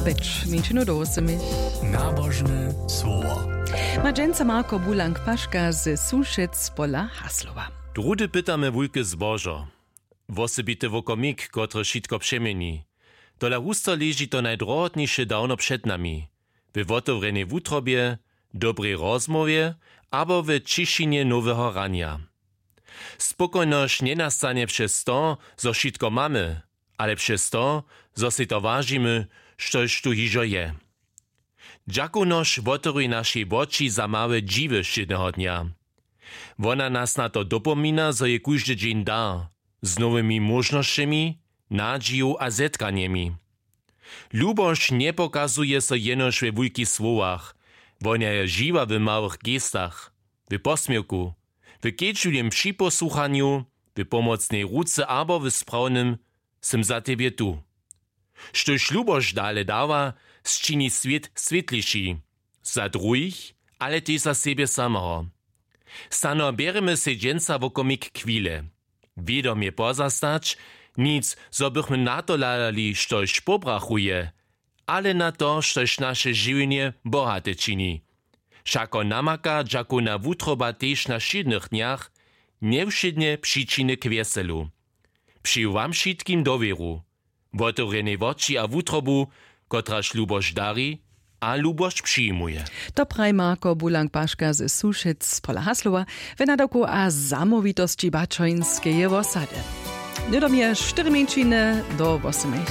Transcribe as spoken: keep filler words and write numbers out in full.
Mjeńšinu do wósymich. Nabožne słowo. Ma dźensa Marko Bulank Paška ze Sušec pola Haslowa. Druhdy pytamy wulke zbožo. Wosebity wokomik, kotryž wšitko přeměni. Tola husto leži to najdrohotniše dawno před nami. We wotewrjenej wutrobje, dobrej rozmołwje abo we ćišinje noweho ranja. Spokojnosć njenastanje přez to, zo wšitko mamy, ale přez to, zo sej to wažimy, štož tu hižo je. Dźakownosć wotewri našej woči za małe dźiwy wšědneho dnja. Wona nas na to dopomina, zo je kóždy dźeń dar, z nowymi móžnosćemi, nadźiju a zetkanjemi. Lubosć njepokazuje so jenož we wulkich słowach, wona je žiwa w małych gestach, w posměwku, w kedźbliwym připosłuchanju, w pomocnej ruce abo w sprawnym „Sym za tebje tu.” Štož lubosć dale dawa, sčini swět swětliši, za druhich, ale tež za sebje sameho. Snano bjerjemy sej dźensa wokomik chwile. Wědomje pozastać, nic, zo bychmy na to hladali, štož pobrachuje, ale na to, štož naše žiwjenje bohate čini. Wšako namaka dźakowna wutroba tež na wšědnych dnjach, njewšědnje přičiny k wjeselu. Přeju wam wšitkim dowěru, wotewrjenej woči a wutrobu, kotraž lubosć dari a lubosć přijimuje. To praji Marko Bulank Paška ze Sušec pola Haslowa we nadawku a zamołwitosći Baćońskeje wosady. Hnydom je štyri mjeńšiny do wosymich.